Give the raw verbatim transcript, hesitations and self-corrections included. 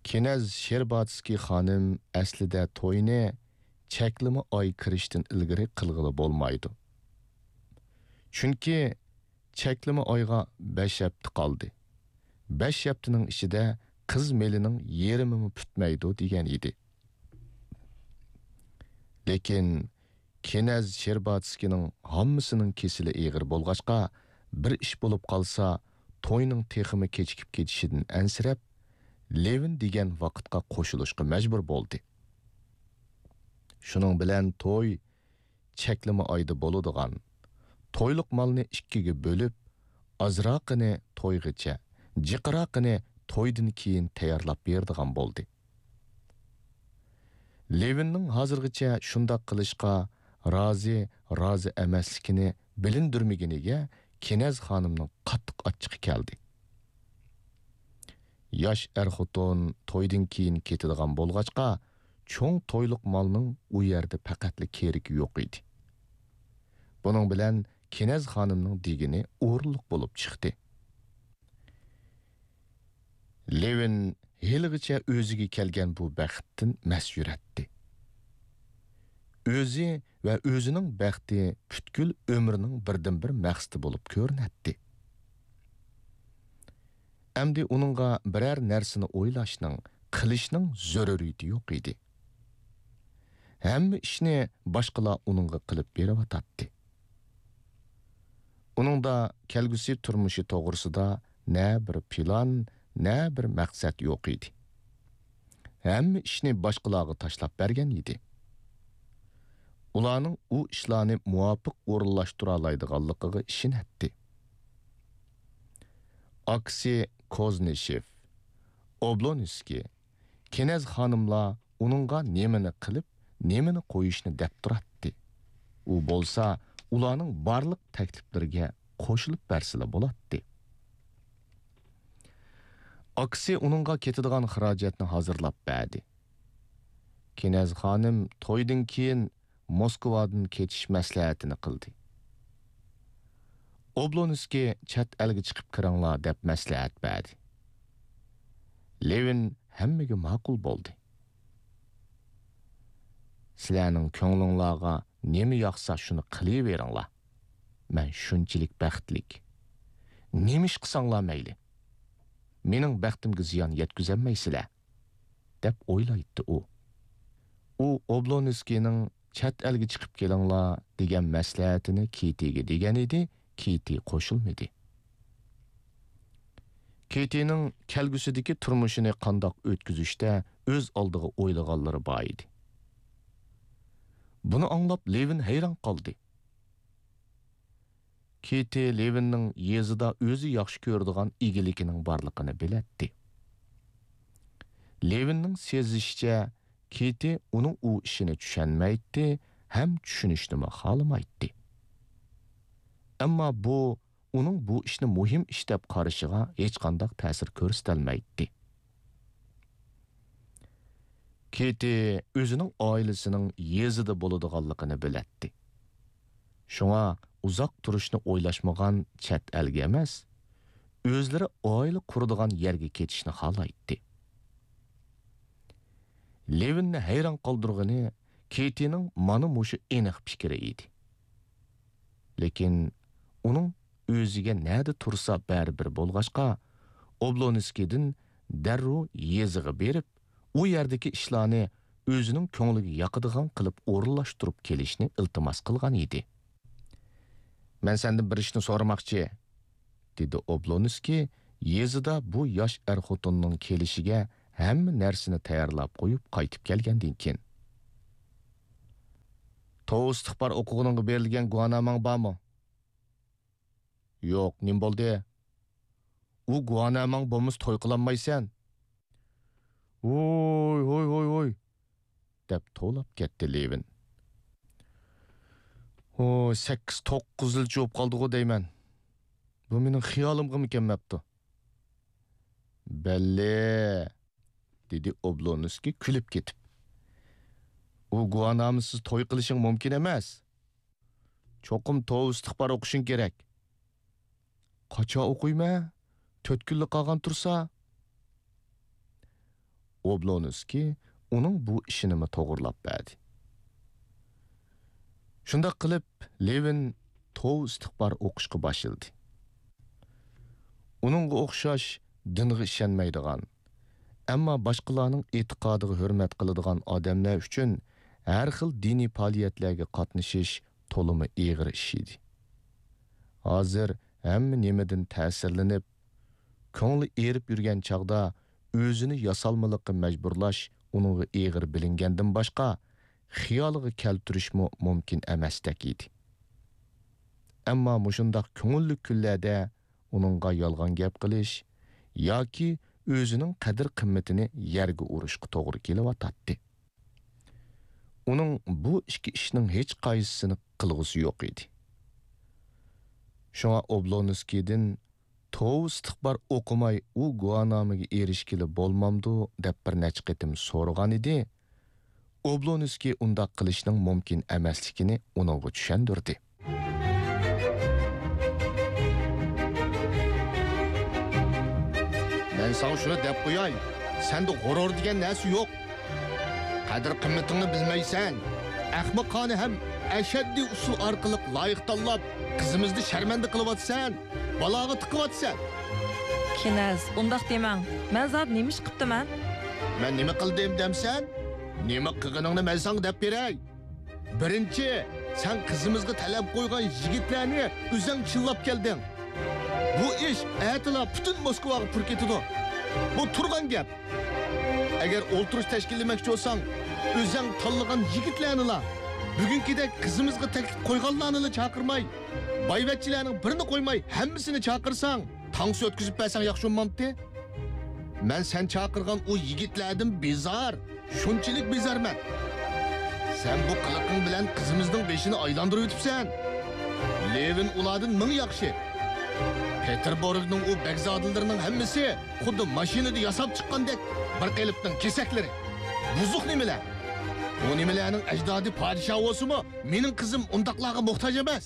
كىنەز شېرباتسكىي خانىم ئەسلىدە توينى چەكلىمە ئاي كىرىشتىن ئىلگىرى قىلغىلى بولمايدۇ. چۈنكى چەكلىمە ئايغا بەش ھەپتە قالدى. بەش ھەپتىنىڭ ئىچىدە قىز مېلىنىڭ يېرىمىمۇ پۈتمەيدۇ دېگەن ئىدى. لېكىن كىنەز شېرباتسكىنىڭ ھاممىسىنىڭ كېسىلى ئېغىر بولغاچقا، بىر ئىش بولۇپ قالسا، توينىڭ تېخىمۇ كېچىكىپ كېتىشىدىن ئەنسىرەپ، لېۋىن دېگەن ۋاقىتقا قوشۇلۇشقا مەجبۇر بولدى. شۇنىڭ بىلەن توي چەكلىمە ئايدا بولىدىغان، تويلۇق مالنى ئىككىگە بۆلۈپ، ئازراقىنى تويغىچە، جىقراقىنى تويدىن كېيىن تەييارلاپ بېرىدىغان بولدى. لېۋىننىڭ ھازىرغىچە شۇنداق قىلىشقا رازى، رازى ئەمەسلىكىنى بىلىندۈرمىگىنىگە كىنەز خانىمنىڭ قاتتىق ئاچچىقى كەلدى. ياش ئەر-خوتۇن تويدىن كېيىن كېتىدىغان بولغاچقا، چوڭ تويلۇق مالنىڭ ئۇ يەردە پەقەتلا كېرىكى يوق ئىدى. بۇنىڭ بىلەن كىنەز خانىمنىڭ دېگىنى ئورۇنلۇق بولۇپ چىقتى. لېۋىن ھېلىغىچە ئۆزىگە كەلگەن بۇ بەختتىن مەس يۈرەتتى. ئۆزى ۋە ئۆزىنىڭ بەختى پۈتكۈل ئۆمرىنىڭ بىردىنبىر مەقسىتى بولۇپ كۆرۈنەتتى. ئەمدى ئۇنىڭغا بىرەر نەرسىنى ئويلاشنىڭ، قىلىشنىڭ زۆرۈرىيىتى يوق ئىدى. ھەممە ئىشنى باشقىلار ئۇنىڭغا قىلىپ بېرىۋاتاتتى. ئۇنىڭدا كەلگۈسى تۇرمۇشى توغرىسىدا نە بىر پىلان، نە بىر مەقسەت يوق ئىدى. ھەممە ئىشنى باشقىلارغا تاشلاپ بەرگەن ئىدى. ئۇلارنىڭ ئۇ ئىشلارنى مۇۋاپىق ئورۇنلاشتۇرالايدىغانلىقىغا ئىشىنەتتى. ئاكىسى كوزنىشېف، ئوبلونسكىي، كىنەز خانىملار ئۇنىڭغا نېمىنى قىلىپ، نېمىنى قويۇشنى دەپ تۇراتتى. ئۇ بولسا ئۇلارنىڭ بارلىق تەكلىپلىرىگە قوشۇلۇپ بەرسىلا بولاتتى. ئاكىسى ئۇنىڭغا كېتىدىغان خىراجەتنى ھازىرلاپ بەردى. كىنەز خانىم تويدىن كېيىن موسكۋادىن كېتىش مەسلىھەتىنى قىلدى. ئوبلونسكىي چەت ئەلگە چىقىپ كىرىڭلار دەپ مەسلىھەت بەردى. لېۋىن ھەممىگە ماقۇل بولدى. سىلەرنىڭ كۆڭلۈڭلارغا نېمە ياقسا شۇنى قىلىۋېرىڭلار. مەن شۇنچىلىك بەختلىك. نېمە ئىش قىلساڭلار مەيلى. مېنىڭ بەختىمگە زىيان يەتكۈزەلمەيسىلەر، دەپ ئويلايتتى ئۇ. ئۇ ئوبلونسكىينىڭ چەت ئەلگە چىقىپ كېلىڭلار دېگەن مەسلىھەتىنى كېتىگە دېگەن ئىدى، كېتى قوشۇلمىدى. كېتىنىڭ كەلگۈسىدىكى تۇرمۇشىنى قانداق ئۆتكۈزۈشتە ئۆز ئالدىغا ئويلىغانلىرى بار ئىدى. بۇنى ئاڭلاپ لېۋىن ھەيران قالدى. كېتى لېۋىننىڭ يېزىدا ئۆزى ياخشى كۆرىدىغان ئىگىلىكىنىڭ بارلىقىنى بىلەتتى. لېۋىننىڭ سېزىشىچە، كېتى ئۇنىڭ ئۇ ئىشىنى چۈشەنمەيتتى ھەم چۈشىنىشنىمۇ خالىمايتتى. ئەمما بۇ ئۇنىڭ بۇ ئىشنى مۇھىم ئىش دەپ قارىشىغا ھېچقانداق تەسىر كۆرسىتەلمەيتتى. كېتى ئۆزىنىڭ ئائىلىسىنىڭ يېزىدا بولىدىغانلىقىنى بىلەتتى. شۇڭا ئۇزاق تۇرۇشنى ئويلاشمىغان چەت ئەلگە ئەمەس، ئۆزلىرى ئائىلە قۇرىدىغان يەرگە كېتىشنى خالايتتى. لېۋىننى ھەيران قالدۇرغىنى كېتىنىڭ مانا مۇشۇ ئېنىق پىكرى ئىدى. لېكىن ئۇنىڭ ئۆزىگە نەدە تۇرسا بەرىبىر بولغاچقا، ئوبلونسكىيدىن دەررۇ يېزىغا بېرىپ، ئۇ يەردىكى ئىشلارنى ئۆزىنىڭ كۆڭلىگە ياقىدىغان قىلىپ ئورۇنلاشتۇرۇپ كېلىشنى ئىلتىماس قىلغان ئىدى. مەن سەندىن بىر ئىشنى سورىماقچى، دېدى ئوبلونسكىي يېزىدا بۇ ياش ئەر-خوتۇننىڭ كېلىشىگە ھەممە نەرسىنى تەييارلاپ قويۇپ قايتىپ كەلگەندىن كېيىن. توۋا ئىستىغپار ئوقۇغىنىڭغا بېرىلگەن گۇۋاھنامەڭ بارمۇ؟ يوق، نېمە بولدى؟ ئۇ گۇۋاھنامەڭ بولمىسا توي قىلالمايسەن. ۋوي، ۋوي، ۋوي، ۋوي، دەپ توۋلاپ كەتتى لېۋىن. ۋوي، سەككىز، توققۇز يىل جۇۋۇپ قالدىغۇ دەيمەن. بۇ مېنىڭ خىيالىمغىمۇ كەلمەپتۇ. بەللى، دېدى ئوبلونسكىي كۈلۈپ كېتىپ. ئۇ گۇۋاھنامىسىز توي قىلىشىڭ مۇمكىن ئەمەس. چوقۇم توۋا ئىستىغپار ئوقۇشۇڭ كېرەك. قاچان ئوقۇيمەن؟ تۆت كۈنلا قالغان تۇرسا. ئوبلونسكىي ئۇنىڭ بۇ ئىشىنىمۇ توغرىلاپ بەردى. شۇنداق قىلىپ، لېۋىن توۋا ئىستىغپار ئوقۇشقا باشلىدى. ئۇنىڭغا ئوخشاش دىنغا ئىشەنمەيدىغان، ئەمما باشقىلارنىڭ ئېتىقادىغا ھۆرمەت قىلىدىغان ئادەملەر ئۈچۈن ھەر خىل دىنىي پائالىيەتلەرگە قاتنىشىش تولىمۇ ئېغىر ئىش ئىدى. ھازىر ھەممە نېمىدىن تەسىرلىنىپ، كۆڭلى ئېرىپ يۈرگەن چاغدا ئۆزىنى ياسالمىلىققا مەجبۇرلاش ئۇنىڭغا ئېغىر بىلىنگەندىن باشقا، خىيالىغا كەلتۈرۈشمۇ مۇمكىن ئەمەستەك ئىدى. ئەمما مۇشۇنداق كۆڭۈللۈك كۈنلەردە ئۇنىڭغا يالغان گەپ قىلىش ياكى ئۆزىنىڭ قەدىر-قىممىتىنى يەرگە ئۇرۇشقا توغرا كېلىۋاتاتتى. ئۇنىڭ بۇ ئىككى ئىشنىڭ ھېچقايسىسىنى قىلغۇسى يوق ئىدى. شۇڭا ئوبلونسكىيدىن توۋا ئىستىغپار ئوقۇماي ئۇ گۇۋاھنامىگە ئېرىشكىلى بولمامدۇ دەپ بىر نەچچە قېتىم سورىغانىدى. ئوبلونسكىي ئۇنداق قىلىشنىڭ مۇمكىن ئەمەسلىكىنى ئۇنىڭغا چۈشەندۈردى. مەن ساڭا شۇنى دەپ قوياي، سەندە غۇرۇر دېگەن نەرسە يوق. قەدىر-قىممىتىڭنى بىلمەيسەن. ئەخمىقانە ھەم ئەشەددىي ئۇسۇل ئارقىلىق لايىق تاللاپ، قىزىمىزنى شەرمەندە قىلىۋاتىسەن، بالاغا تىقىۋاتىسەن. كىنەز، ئۇنداق دېمەڭ. مەن زادى نېمە ئىش قىپتىمەن؟ مەن نېمە قىلدىم دەمسەن؟ نېمە قىلغىنىڭنى مەن ساڭا دەپ بېرەي. بىرىنچى، سەن قىزىمىزغا تەلەپ قويغان يىگىتلەرنى ئۆزەڭ چىللاپ كەلدىڭ. بۇ ئىش ئەتىلا پۈتۈن موسكۋاغا پۇر كېتىدۇ. بۇ تۇرغان گەپ. ئەگەر ئولتۇرۇش تەشكىللىمەكچى بولساڭ، ئۆزەڭ تاللىغان يىگىتلەرنىلا، بۈگۈنكىدەك قىزىمىزغا تەكلىپ قويغانلارنىلا چاقىرماي، بايۋەچچىلەرنىڭ بىرىنى قويماي ھەممىسىنى چاقىرساڭ، تانسا ئۆتكۈزۈپ بەرسەڭ ياخشى بولمامتى؟ مەن سەن چاقىرغان ئۇ يىگىتلەردىن بىزار، شۇنچىلىك بىزارمەن. سەن بۇ قىلىقىڭ بىلەن قىزىمىزنىڭ بېشىنى ئايلاندۇرۇۋېتىپسەن. لېۋىن ئۇلاردىن مىڭ ياخشى. پېتېربۇرگنىڭ ئۇ بەگزادىلىرىنىڭ ھەممىسى خۇددى ماشىنىدا ياساپ چىققاندەك بىر قېلىپنىڭ كېسەكلىرى. بۇزۇق نېمىلەر. ئۇ نېمىلەرنىڭ ئەجدادى پادىشاھ بولسىمۇ، مېنىڭ قىزىم ئۇنداقلارغا موھتاج ئەمەس.